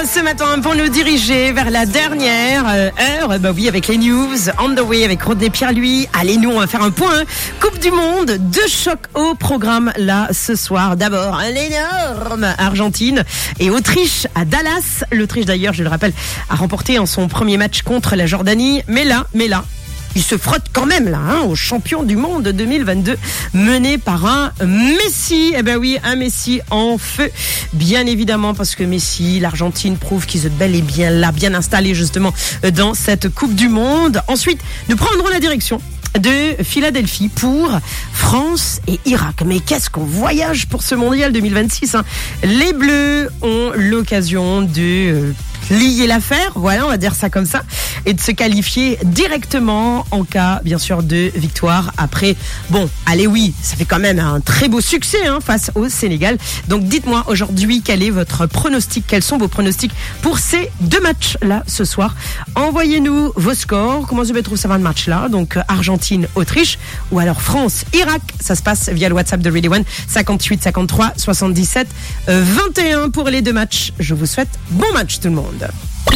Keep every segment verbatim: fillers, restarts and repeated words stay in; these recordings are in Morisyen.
Ce matin pour nous diriger vers la dernière euh, heure, bah oui, avec les news on the way avec Rodney Pierre-Louis. Allez, nous, on va faire un point, hein. Coupe du Monde, deux chocs au programme là ce soir. D'abord, l'énorme Argentine et Autriche à Dallas. L'Autriche, d'ailleurs, je le rappelle, a remporté en son premier match contre la Jordanie. Mais là, mais là, il se frotte quand même là, hein, au champion du monde deux mille vingt-deux, mené par un Messi. Eh ben oui, un Messi en feu, bien évidemment, parce que Messi, l'Argentine prouve qu'ils sont bel et bien là, bien installés justement euh, dans cette Coupe du Monde. Ensuite, nous prendrons la direction de Philadelphie pour France et Irak. Mais qu'est-ce qu'on voyage pour ce mondial deux mille vingt-six, hein. Les Bleus ont l'occasion de euh, plier l'affaire, voilà, on va dire ça comme ça, et de se qualifier directement en cas, bien sûr, de victoire. Après, bon, allez, oui, ça fait quand même un très beau succès, hein, face au Sénégal. Donc dites-moi aujourd'hui quel est votre pronostic, quels sont vos pronostics pour ces deux matchs-là ce soir. Envoyez-nous vos scores, comment vous trouvez ça va le match-là, donc euh, Argentine, Autriche, ou alors France, Irak. Ça se passe via le WhatsApp de Radio One, cinquante-huit cinquante-trois soixante-dix-sept euh, vingt et un pour les deux matchs. Je vous souhaite bon match tout le monde.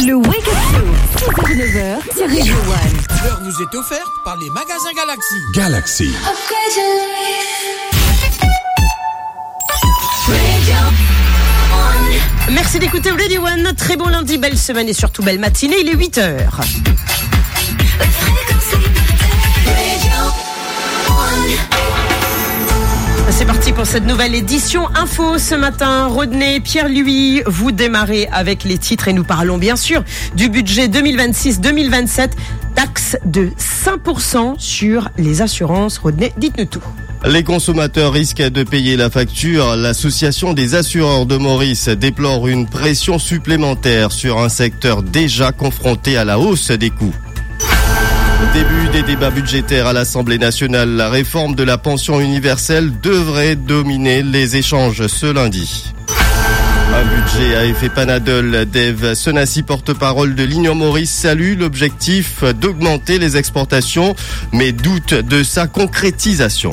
Le Wake Up Show, six heures, neuf heures, sur Radio One. L'heure vous est offerte par les magasins Galaxy. Galaxy. Upgrade your life. Radio One. Merci d'écouter Radio One. Très bon lundi, belle semaine et surtout belle matinée. Il est huit heures. C'est parti pour cette nouvelle édition Info ce matin. Rodney, Pierre-Louis, vous démarrez avec les titres et nous parlons bien sûr du budget deux mille vingt-six deux mille vingt-sept. Taxe de cinq pour cent sur les assurances. Rodney, dites-nous tout. Les consommateurs risquent de payer la facture. L'Association des assureurs de Maurice déplore une pression supplémentaire sur un secteur déjà confronté à la hausse des coûts. Début des débats budgétaires à l'Assemblée nationale. La réforme de la pension universelle devrait dominer les échanges ce lundi. Un budget à effet Panadol. Dave Sonassi, porte-parole de l'Union Maurice, salue l'objectif d'augmenter les exportations, mais doute de sa concrétisation.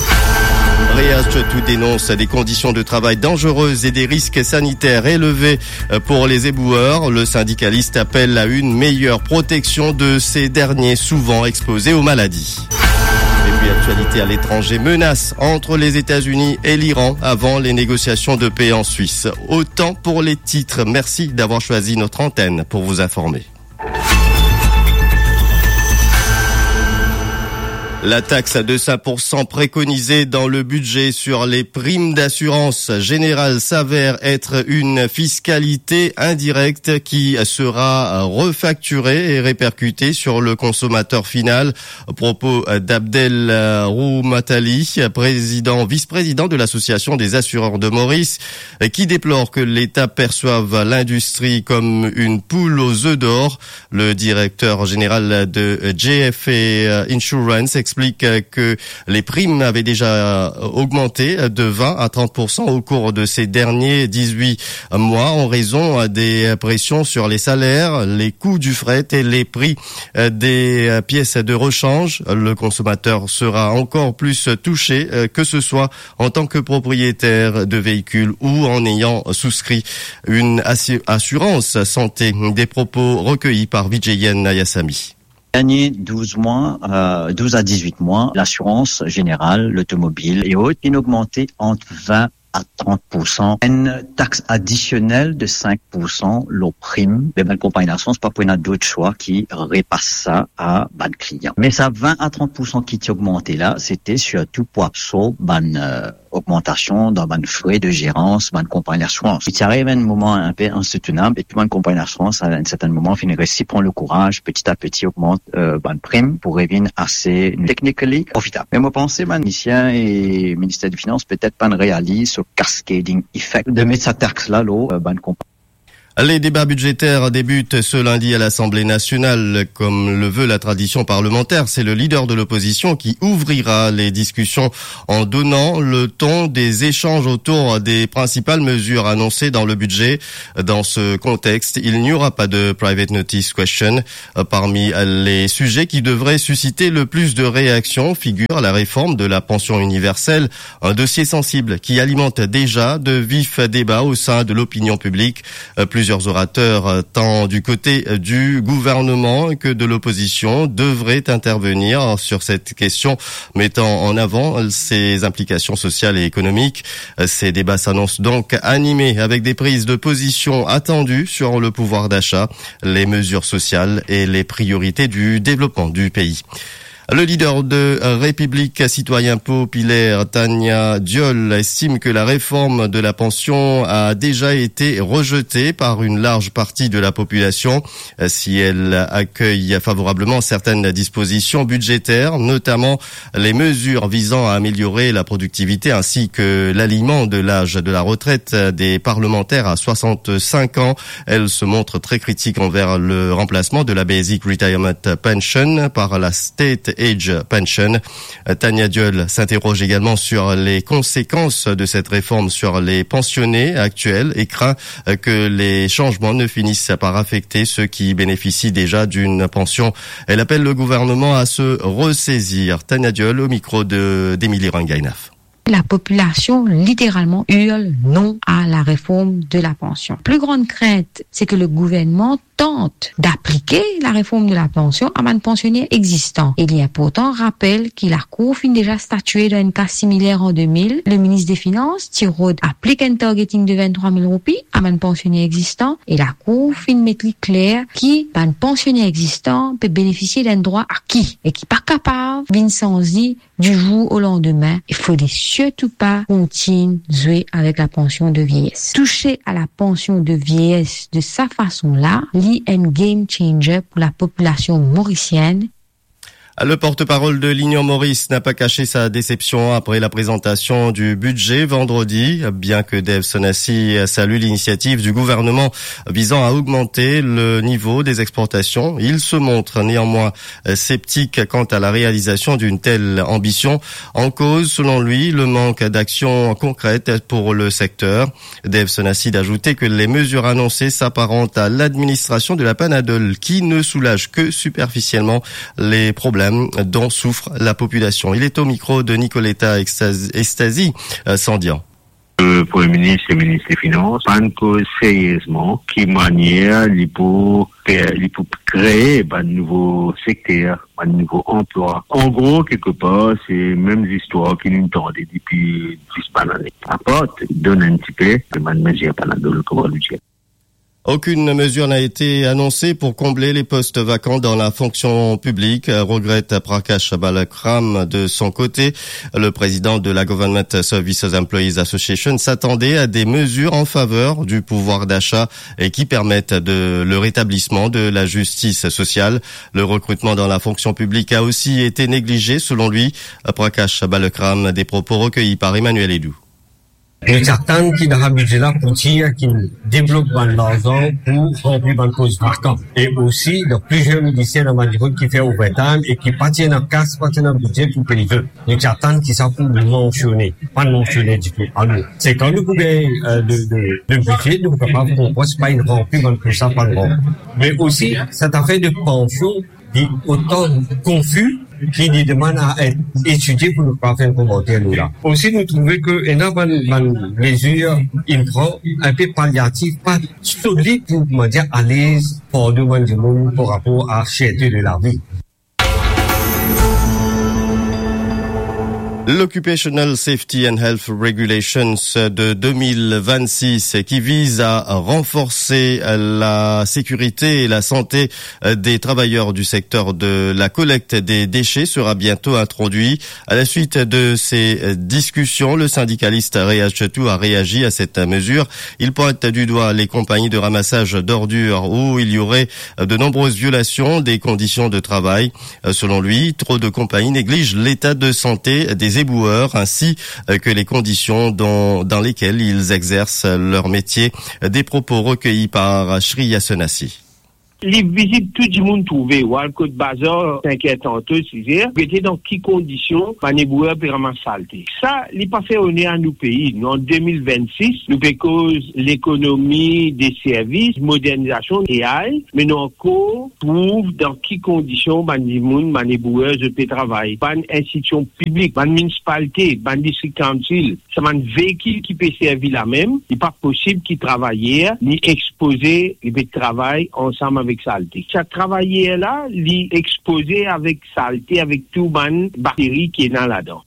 Reas Chotou dénonce des conditions de travail dangereuses et des risques sanitaires élevés pour les éboueurs. Le syndicaliste appelle à une meilleure protection de ces derniers, souvent exposés aux maladies. Et puis, actualité à l'étranger, menace entre les États-Unis et l'Iran avant les négociations de paix en Suisse. Autant pour les titres. Merci d'avoir choisi notre antenne pour vous informer. La taxe de cinq pour cent préconisée dans le budget sur les primes d'assurance générale s'avère être une fiscalité indirecte qui sera refacturée et répercutée sur le consommateur final. Propos d'Abdel Roumatali, président, vice-président de l'Association des assureurs de Maurice, qui déplore que l'État perçoive l'industrie comme une poule aux œufs d'or. Le directeur général de J F A Insurance explique que les primes avaient déjà augmenté de vingt à trente pour cent au cours de ces derniers dix-huit mois en raison des pressions sur les salaires, les coûts du fret et les prix des pièces de rechange. Le consommateur sera encore plus touché, que ce soit en tant que propriétaire de véhicule ou en ayant souscrit une assu-, assurance santé. Des propos recueillis par Vijayan Nayasamy. Dernier douze mois, euh, douze à dix-huit mois, l'assurance générale, l'automobile et autres, inn ogmante ant vin a trant pour san. Enn taks adisionel de sink pour san lor prim, me bann konpagni lasirans pa pou ena dot swa ki repas sa a bann klian. Me sa vin a trant pour san ki ti ogmante la, se ti sirtou pou absorb bann, euh, ogmantasion dan bann fre de zerans bann konpagni lasirans. Li ti ariv enn moman inpe insoutenab e tou bann konpagni lasirans, a enn sertin moman, finn resi pran lekouraz, peti a peti ogmant, euh, bann prim pou revinn ase technically profitab. Me mo panse bann teknisien e Minister de Finans petet pa'nn realiz so cascading effect de met sa taks la lor, euh, bann konpagni. Les débats budgétaires débutent ce lundi à l'Assemblée nationale. Comme le veut la tradition parlementaire, c'est le leader de l'opposition qui ouvrira les discussions en donnant le ton des échanges autour des principales mesures annoncées dans le budget. Dans ce contexte, il n'y aura pas de private notice question. Parmi les sujets qui devraient susciter le plus de réactions figure la réforme de la pension universelle, un dossier sensible qui alimente déjà de vifs débats au sein de l'opinion publique. Plus Plusieurs orateurs, euh, tant du côté, euh, du gouvernement que de l'opposition, devraient intervenir sur cette question, mettant en avant ses implications sociales et économiques. Euh, ces débats s'annoncent donc animés, avec des prises de position attendues sur le pouvoir d'achat, les mesures sociales et les priorités du développement du pays. Le leader de République Citoyen Populaire, Tania Diol, estime que la réforme de la pension a déjà été rejetée par une large partie de la population. Si elle accueille favorablement certaines dispositions budgétaires, notamment les mesures visant à améliorer la productivité ainsi que l'alignement de l'âge de la retraite des parlementaires à soixante-cinq ans, elle se montre très critique envers le remplacement de la Basic Retirement Pension par la State Age Pension. Tania Diol s'interroge également sur les conséquences de cette réforme sur les pensionnés actuels et craint que les changements ne finissent par affecter ceux qui bénéficient déjà d'une pension. Elle appelle le gouvernement à se ressaisir. Tania Diol au micro de, d'Emilie Rangainaf. La population littéralement hurle non à la réforme de la pension. Plus grande crainte, c'est que le gouvernement tente d'appliquer la réforme de la pension à bann pensionner existan. E li inportan rapel ki Lakour finn deza statue dan enn ka similer an de mil. Le minis de Finans ti rod aplik enn targeting de vinn-trwa mil roupi a bann pensionner existan e Lakour finn met li kler ki bann pensionner existan pe benefisie d'enn drwa aki e ki pa kapav vinn sanz li du jour au lendemain. Il faudrait surtout pas continuer à jouer avec la pension de vieillesse. Toucher à la pension de vieillesse de sa façon-là, li enn game changer pour la population mauricienne. Le porte-parole de l'Union Maurice n'a pas caché sa déception après la présentation du budget vendredi. Bien que Dev Sonassi salue l'initiative du gouvernement visant à augmenter le niveau des exportations, il se montre néanmoins sceptique quant à la réalisation d'une telle ambition. En cause, selon lui, le manque d'action concrète pour le secteur. Dev Sonassi d'ajouter que les mesures annoncées s'apparentent à l'administration de la Panadol qui ne soulage que superficiellement les problèmes dont souffre la population. Il est au micro de Nicoletta Extasi, Extasi, euh, Sandian. Premie Minis e Minis de Finans pa'nn koz seriezman ki manier li pou, li pou kree bann nouvo sekter, bann nouvo anplwa. An gro, kelkepar, se mem zistwar ki nou'nn tande depi dis bann ane. Apart donn enn tipe, bann mezir Panadol, kouma nou dir. Aucune mesure n'a été annoncée pour combler les postes vacants dans la fonction publique, regrette Prakash Balakram. De son côté, le président de la Government Services Employees Association s'attendait à des mesures en faveur du pouvoir d'achat et qui permettent de, le rétablissement de la justice sociale. Le recrutement dans la fonction publique a aussi été négligé, selon lui. Prakash Balakram, des propos recueillis par Emmanuel Edou. Nou ti atann ki dan sa bidze la pou dir ki deblok bann larzan pou ranpli bann pos vakan. E osi, dan plizier minister dan bann dimoun ki fer overtime e ki pa ti ena kas, pa ti ena bidze pou pey zot. Nou ti atann ki sa pou mansione, pa'nn mansione ditou. Alor, se kan nou pou gagn, euh, de, de, de bidze, nou pou kapav konpran si pa'nn ranpli bann pos la, pa'nn ranpli. Me osi, set zafer de pansion, li otan konfi ki li demann a et etidie pou nou kapav fer enn komanter nou la. Osi, nou trouve ki ena bann, bann mezir inn pran enpe palyatif, pa solid pou, koumadir, alez fardo bann dimoun par rapor a serte de lavi. L'Occupational Safety and Health Regulations de deux mille vingt-six, qui vise à renforcer la sécurité et la santé des travailleurs du secteur de la collecte des déchets, sera bientôt introduit. À la suite de ces discussions, le syndicaliste Reaz Chetou a réagi à cette mesure. Il pointe du doigt les compagnies de ramassage d'ordures où il y aurait de nombreuses violations des conditions de travail. Euh, selon lui, trop de compagnies négligent l'état de santé des éboueurs ainsi, euh, que les conditions dont, dans lesquelles ils exercent leur métier. Des propos recueillis par Shreya Sonassi. Li vizib, tou dimoun trouve, ou al kot bazar, senk er tanto, sis er, gete dan ki kondision bann lebrouyer pe ramas salte. Sa, li pa fer oner a nou pei. Nou an de mil vennsis, nou pe koz lekonomi de servis, modernizasion, A I, me nou ankor trouv dan ki kondision bann dimoun, bann lebrouyer, zot pe travay. Bann institision piblik, bann minisipalite, bann district council, sa bann veikil ki pe servi la mem, li pa posib ki travayer, li expoze, li pe travay ansam avek salte. Sa travayer la, li expoze avek salte, avek tou bann bakteri ki ena ladan.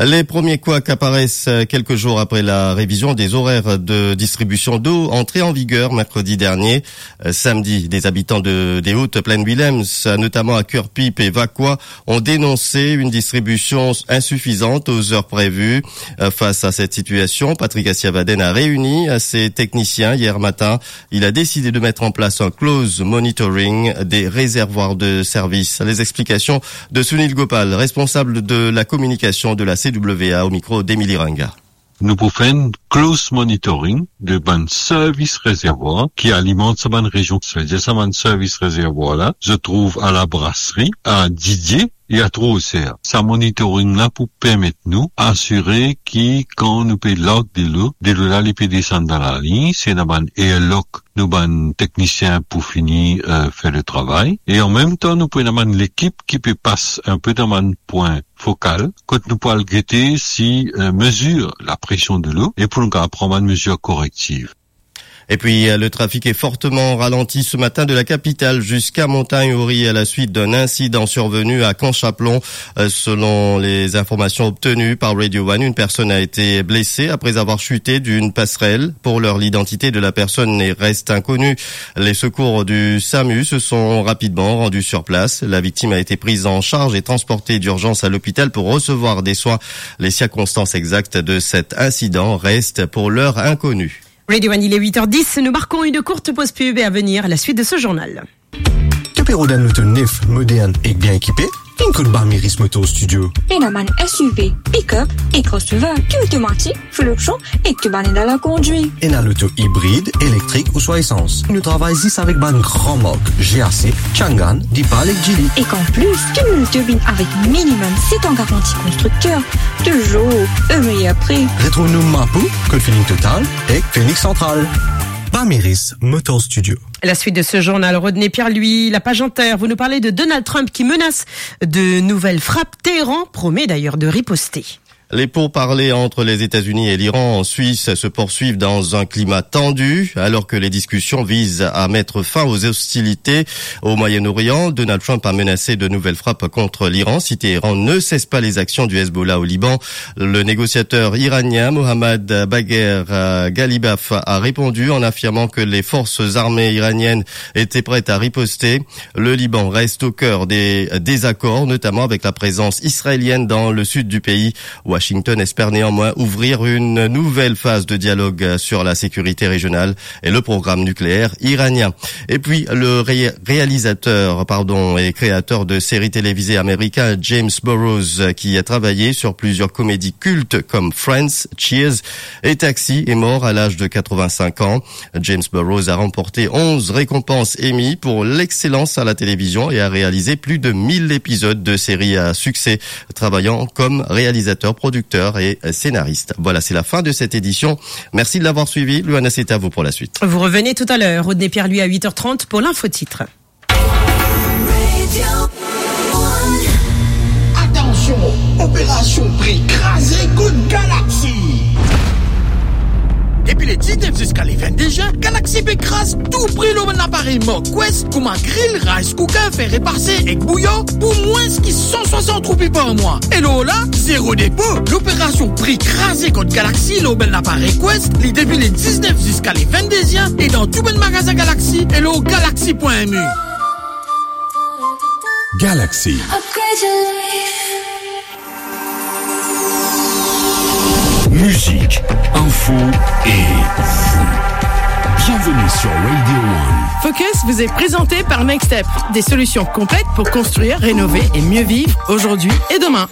Les premiers couacs apparaissent, euh, quelques jours après la révision des horaires de distribution d'eau entrée en vigueur mercredi dernier. Euh, samedi, des habitants de, des Hautes Plaines Willems, notamment à Curepipe et Vacoas, ont dénoncé une distribution insuffisante aux heures prévues. Euh, face à cette situation, Patrick Assiavaden a réuni, euh, ses techniciens hier matin. Il a décidé de mettre en place un close monitoring des réservoirs de service. Les explications de Sunil Gopal, responsable de la communication de la C W A, au micro d'Emilie Ranga. Nou pou fer enn close monitoring de bann servis rezervwar ki alimant sa bann rezion. Savedir sa bann servis rezervwar la, zot trouv a La Brasserie, a Didier e a Tro Oser. Sa monitoring la pou permet nou asire ki kan nou pe larg delo, delo la li pe desann dan laliny, si ena bann airlock, nou bann teknisien pou fini, euh, fer le travay. E an mem tan, nou pou ena bann lekip ki pe pas inpe dan bann pwin fokal, kot nou pou al gete si, euh, mezir lapresion delo, e pou nou kapav pran bann mezir korektiv. Et puis, euh, le trafic est fortement ralenti ce matin de la capitale jusqu'à Montagne-Ory à la suite d'un incident survenu à Camp Chapelon. Euh, selon les informations obtenues par Radio One, une personne a été blessée après avoir chuté d'une passerelle. Pour l'heure, l'identité de la personne est, reste inconnue. Les secours du samu se sont rapidement rendus sur place. La victime a été prise en charge et transportée d'urgence à l'hôpital pour recevoir des soins. Les circonstances exactes de cet incident restent pour l'heure inconnues. Radio One, il est huit heures dix, nous marquons une courte pause pub et à venir, la suite de ce journal. To pe rod enn loto nef, modern ek bien ekipe? Vinn kot Bamiris Motor Studio. Ena bann S U V, pick-up e crossover, ki otomatik, fluctuation e ki bann ena lakondwit. Ena loto ibrid, elektrik ouswa esans. Nou travay zis avek bann gran mark, G A C, Changan, Deepal ek Geely. Ek an plis, tou nou loto vinn avek minimum set an garanti konstrikter, touzour o meyer pri. Retrouv nou Mapou, kot Feeling Total ek Phoenix Central. Bamiris Motor Studio. La suite de ce journal, Rodney Pierre-Louis, la page inter, vous nous parlez de Donald Trump qui menace de nouvelles frappes. Téhéran promet d'ailleurs de riposter. Les pourparlers entre les États-Unis et l'Iran en Suisse se poursuivent dans un climat tendu, alors que les discussions visent à mettre fin aux hostilités au Moyen-Orient. Donald Trump a menacé de nouvelles frappes contre l'Iran si Téhéran ne cesse pas les actions du Hezbollah au Liban. Le négociateur iranien Mohammad Bagher, euh, Ghalibaf a répondu en affirmant que les forces armées iraniennes étaient prêtes à riposter. Le Liban reste au cœur des désaccords, notamment avec la présence israélienne dans le sud du pays. Washington espère néanmoins ouvrir une nouvelle phase de dialogue sur la sécurité régionale et le programme nucléaire iranien. Et puis, le ré-, réalisateur, pardon, et créateur de séries télévisées américain James Burrows, qui a travaillé sur plusieurs comédies cultes comme Friends, Cheers et Taxi, est mort à l'âge de quatre-vingt-cinq ans. James Burrows a remporté onze récompenses Emmy pour l'excellence à la télévision et a réalisé plus de mille épisodes de séries à succès, travaillant comme réalisateur, producteur et scénariste. Voilà, c'est la fin de cette édition. Merci de l'avoir suivi. Loana, c'est à vous pour la suite. Vous revenez tout à l'heure. Rodney Pierre-Louis à huit heures trente pour l'info-titre. Atansion, operasion pri kraze kot Galaxy. Depi le diznef ziska le vennde zin, Galaxy pe kraz tou pri lor bann aparey mark Quest, kouma gril, rice cooker, fer repase ek bouyon, pou mwins ki san swasant roupi par mwa. E lor la, zero depo. Loperasion pri kraze kot Galaxy lor bann aparey Quest, li depi le diznef ziska le vennde zin, e dan tou bann magazin Galaxy, e lor galaxy point M E. Galaxy. Upgrade your life. Musique, info et vous. Bienvenue sur Radio One. Focus vous est présenté par Nextep, des solutions complètes pour construire, rénover et mieux vivre aujourd'hui et demain.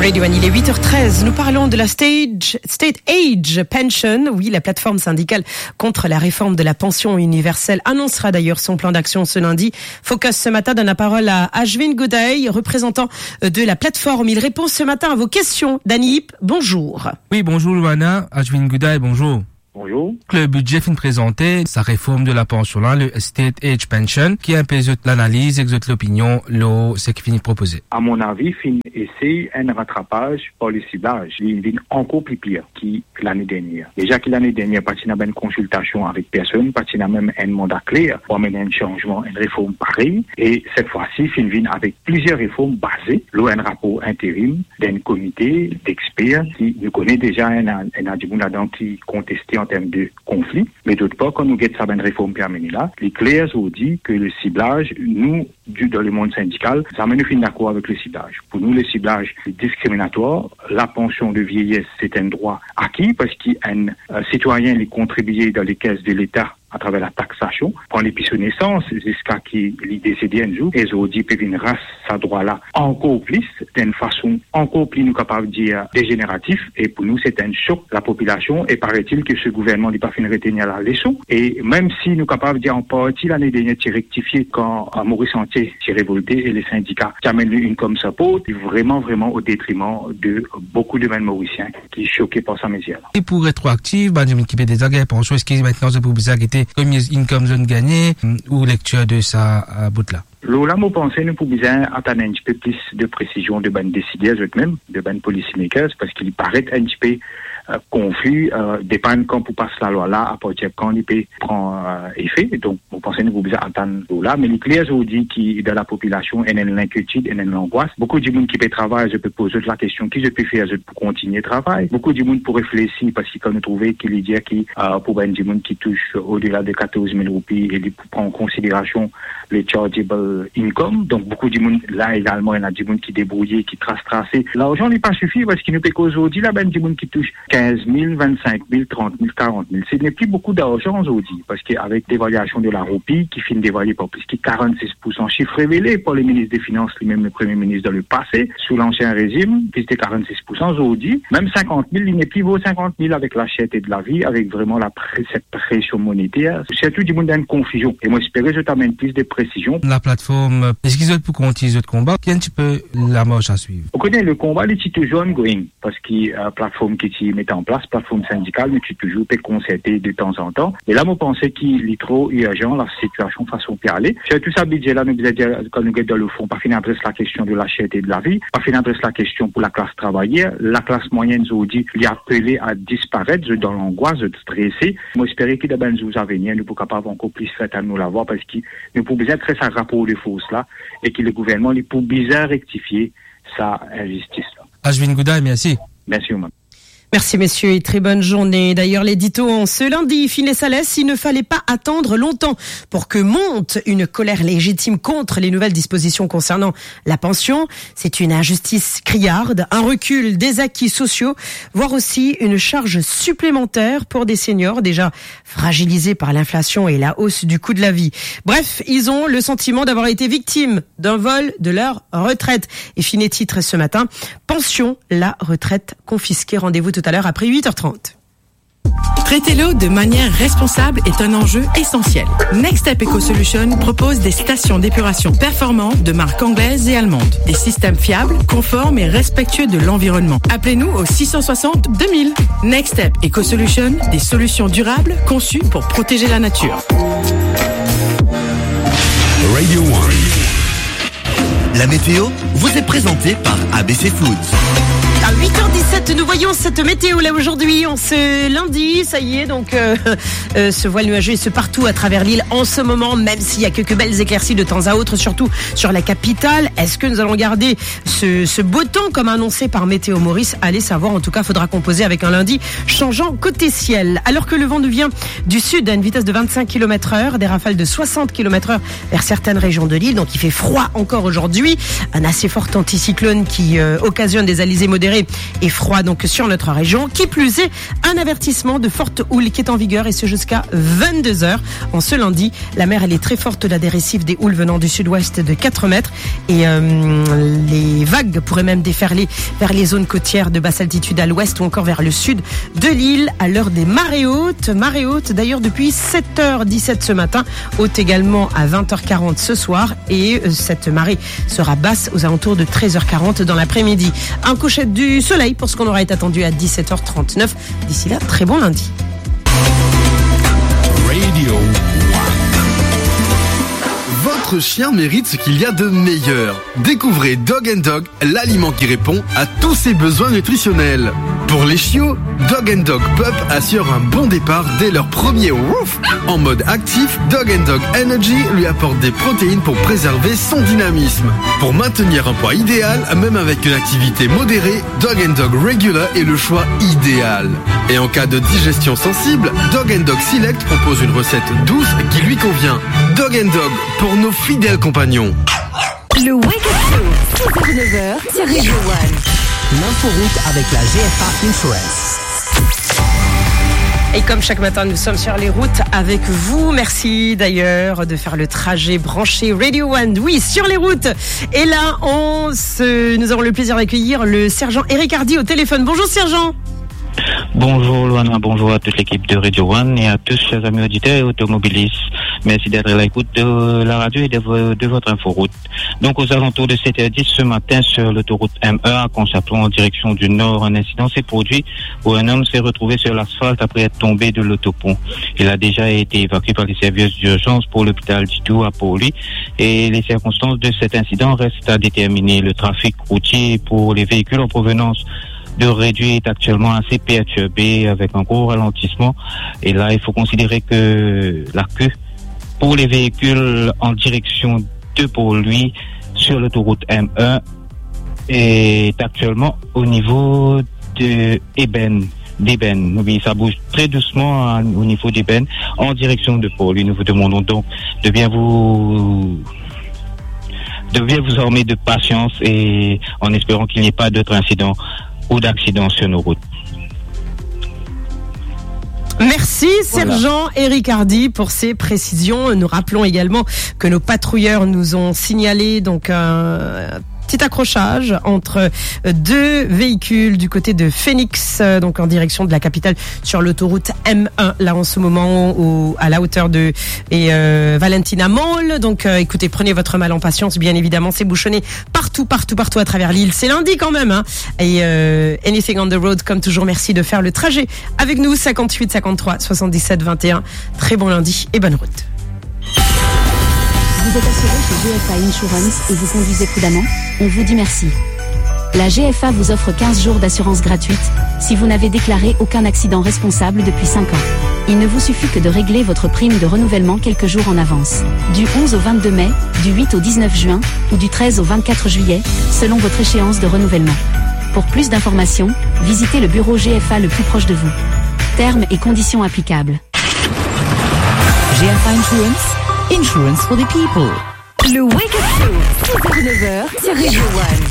Radio One, il est huit heures treize. Nous parlons de la stage, State Age Pension. Oui, la plateforme syndicale contre la réforme de la pension universelle annoncera d'ailleurs son plan d'action ce lundi. Focus ce matin donne la parole à Ashwin Gudai, représentant, euh, de la plateforme. Il répond ce matin à vos questions. Dany Ip, bonjour. Oui, bonjour Loana. Ashwin Gudai, bonjour. Bonjour. Le bidze finn prezante sa reform de la pansion la, le State Age Pension, ki enpe zot lanaliz ek zot lopinion lor seki finn propoze? A mon avi, finn esey enn ratrapaz par le siblaz. Li vinn ankor pli pir ki lane dernier. Deza ki lane dernier, pa ti ena bann konsiltasion avek personn, pa ti ena mem enn manda kler pou amenn enn sanzman, enn reform parey. E set fwa si, finn vinn avek plizier reform baze lor enn rapor interim d'enn komite d'exper ki nou kone deza ena, ena dimoun ladan ki konteste an term de konfli. Me dot par, kan nou get sa bann reform pe amene la, li kler zordi ke le siblaz, nou, di-, dan lemond sindikal, zame nou finn dakor avek le siblaz. Pou nou, le siblaz diskriminatwar. La pansion de vieyes, se enn drwa aki, parski enn, euh, sitwayin, li kontribie dan lekes de Leta atraver la taksasion, pran depi so nesans ziska ki li desede enn zour, e zordi pe vinn ras sa drwa la ankor plis, dan enn fason ankor pli, nou kapav dir, dezeneratif, e pou nou, se enn sok lapopilasion, e paraît-il ke se gouvernman, li pa finn retenir la leson, e mem si nou kapav dir an parti, lane dernier ti rektifie kan, euh, Moris antie ti revolte e le sindika ti amenn li income support, li vreman, vreman o detriman de boukou de bann Morisien ki soke par sa mezir la. E pou retroaktif, bann dimoun ki pe deza gagn pansion, eski aster zot pou bizin gete konbien income zot gagne, ou lektir de sa, euh, bout la? Lor la, mo panse nou pou bizin atann enn tipe plis de presizion de bann desider zot mem, de bann policy makers, parski li paret enn tipe, euh, konfi, euh, depann kan pou pas lalwa la, apartir kan li pe pran, euh, efe. Donk, mo panse nou pou bizin atann lor la, me li kler zordi ki dan lapopilasion, ena enn linkietid, ena enn langwas. Boukou dimoun ki pe travay, zot pe poz zot lakestion, ki zot pe fer, zot pou kontigne travay. Boukou dimoun pou reflesi, parski kan nou trouve ki li dir ki, euh, pou bann dimoun ki tous odela de katorz mil roupi, e li pou pran an konsiderasion le chargeable income. Donk, boukou dimoun la egalman, ena dimoun ki debrouye, ki tras trase. Larzan, li pa sifi, parski nou pe koz zordi la, bann dimoun ki tous kinz mil, vennsink mil, trant mil, karant mil. Se nepli boukou larzan zordi, parski avek devalyasion de la roupi, ki finn devalye par plis ki karannsis poursan, sif revele par le minis de finans, limem le premie minis dan lepase, sou lansien rezim, ki ti karannsis poursan, zordi, mem sinkant mil, li nepli vo sinkant mil avek laserte de lavi, avek vreman la pre-, set presion moniter, sirtou dimoun dan enn konfizion. E mo espere zot amenn plis de presizion. La plateforme, eski zot pou kontign zot konba? Ki enn tipe lamars a swiv? Ou kone, le konba, li ti touzour ongoing. Parski, euh, platform ki ti met an plas, platform sindikal, nou ti touzour pe konserte de tanzantan. E la, mo panse ki li tro irzan, la sitiasion fason pe ale. Sirtou sa bidze la, nou bizin dir, kan nou get dan lefon, pa finn adres lakestion de laserte de lavi, pa finn adres lakestion pou laklas travayer. Laklas mwayenn zordi, li apele a disparet, zot dan langwas, zot strese. Mo espere ki dan bann zour avenir, nou pou kapav ankor plis fer tann nou lavwa, parski nou pou bizin kre sa rapor de fors la, e ki le gouvernman, li pou bizin rektifie sa inzistis la. Ashwin Gudai, mersi. Mersi, Oman. Merci, messieurs, et très bonne journée. D'ailleurs, l'édito en ce lundi, Finesse à l'Est, il ne fallait pas attendre longtemps pour que monte une colère légitime contre les nouvelles dispositions concernant la pension. C'est une injustice criarde, un recul des acquis sociaux, voire aussi une charge supplémentaire pour des seniors déjà fragilisés par l'inflation et la hausse du coût de la vie. Bref, ils ont le sentiment d'avoir été victimes d'un vol de leur retraite. Et fine titre ce matin, pension, la retraite confisquée. Rendez-vous tout à l'heure après huit heures trente. Traiter l'eau de manière responsable est un enjeu essentiel. Next Step Eco Solution propose des stations d'épuration performantes de marque anglaise et allemande. Des systèmes fiables, conformes et respectueux de l'environnement. Appelez-nous au six cent soixante deux mille. Next Step Eco Solution, des solutions durables conçues pour protéger la nature. Radio One. La météo vous est présentée par A B C Foods. À huit heures dix-sept, nous voyons cette météo là aujourd'hui, en ce lundi, ça y est, donc, euh, euh, ce voile nuageux est partout à travers l'île en ce moment, même s'il y a quelques belles éclaircies de temps à autre, surtout sur la capitale. Est-ce que nous allons garder ce, ce beau temps comme annoncé par Météo Maurice ? Allez savoir, en tout cas, faudra composer avec un lundi changeant côté ciel. Alors que le vent nous vient du sud à une vitesse de vingt-cinq kilomètres heure, des rafales de soixante kilomètres heure vers certaines régions de l'île. Donc il fait froid encore aujourd'hui. Un assez fort anticyclone qui, euh, occasionne des alizés modérés et froid donc sur notre région. Qui plus est, un avertissement de forte houle qui est en vigueur et ce jusqu'à vingt-deux heures. En ce lundi, la mer, elle est très forte, on a des récifs, des houles venant du sud-ouest de quatre mètres et, euh, les vagues pourraient même déferler vers les zones côtières de basse altitude à l'ouest ou encore vers le sud de l'île à l'heure des marées hautes. Marée haute d'ailleurs depuis sept heures dix-sept ce matin, haute également à vingt heures quarante ce soir et, euh, cette marée sera basse aux alentours de treize heures quarante dans l'après-midi. Un coucher du soleil pour ce qu'on aura été attendu à dix-sept heures trente-neuf. D'ici là, très bon lundi. Radio One. Votre chien mérite ce qu'il y a de meilleur. Découvrez Dog and Dog, l'aliment qui répond à tous ses besoins nutritionnels. Pour les chiots, Dog and Dog Pup assure un bon départ dès leur premier woof. En mode actif, Dog and Dog Energy lui apporte des protéines pour préserver son dynamisme. Pour maintenir un poids idéal, même avec une activité modérée, Dog and Dog Regular est le choix idéal. Et en cas de digestion sensible, Dog and Dog Select propose une recette douce qui lui convient. Dog and Dog, pour nos fidèles compagnons. Le Wake Up Show, six heures, neuf heures, sur Radio One. L'inforoute avec la G F A Insurance. Et comme chaque matin, nous sommes sur les routes avec vous. Merci d'ailleurs de faire le trajet branché Radio One. Oui, sur les routes. Et là, on se, nous avons le plaisir d'accueillir le sergent Eric Hardy au téléphone. Bonjour, sergent. Bonjour Loana, bonjour à toute l'équipe de Radio One et à tous, chers amis auditeurs et automobilistes. Merci d'être à l'écoute de la radio et de vo-, de votre inforoute. Donc, aux alentours de sept heures dix ce matin, sur l'autoroute M un à Conchaplan, en direction du nord, un incident s'est produit où un homme s'est retrouvé sur l'asphalte après être tombé de l'autopont. Il a déjà été évacué par les services d'urgence pour l'hôpital du Tour à Port-Louis et les circonstances de cet incident restent à déterminer. Le trafic routier pour les véhicules en provenance de Réduit est actuellement assez perturbé avec un gros ralentissement. Et là, il faut considérer que la queue pour les véhicules en direction de Port-Louis sur l'autoroute M un est actuellement au niveau de Ébène, d'Ébène. Oui, ça bouge très doucement, hein, au niveau d'Ébène, en direction de Port-Louis. Nous vous demandons donc de bien vous, de bien vous armer de patience et en espérant qu'il n'y ait pas d'autres incidents ou d'accidents sur nos routes. Merci, voilà, sergent Eric Hardy, pour ces précisions. Nous rappelons également que nos patrouilleurs nous ont signalé donc un petit accrochage entre, euh, deux véhicules du côté de Phoenix, euh, donc en direction de la capitale sur l'autoroute M un. Là, en ce moment, au, à la hauteur de, et, euh, Valentina Mall. Donc, euh, écoutez, prenez votre mal en patience. Bien évidemment, c'est bouchonné partout, partout, partout à travers l'île. C'est lundi quand même, hein. Et, euh, Anything on the Road, comme toujours, merci de faire le trajet avec nous. Cinquante-huit cinquante-trois soixante-dix-sept vingt et un. Très bon lundi et bonne route. Vous êtes assuré chez G F A Insurance et vous conduisez prudemment ? On vous dit merci. La G F A vous offre quinze jours d'assurance gratuite si vous n'avez déclaré aucun accident responsable depuis cinq ans. Il ne vous suffit que de régler votre prime de renouvellement quelques jours en avance. Du onze au vingt-deux mai, du huit au dix-neuf juin ou du treize au vingt-quatre juillet, selon votre échéance de renouvellement. Pour plus d'informations, visitez le bureau G F A le plus proche de vous. Termes et conditions applicables. G F A Insurance, insurance for the people. Le Wake Up Show, six heures, neuf heures, sur Radio One.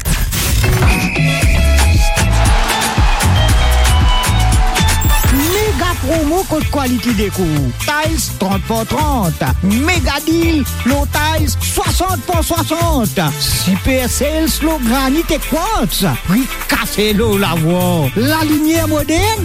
Méga promo kot Quality Decor. Tiles trant par trant. Méga deal lor tiles swasant par swasant. Super sales lor granit e quartz. Pri kase lor lavwar. Lalimier modern.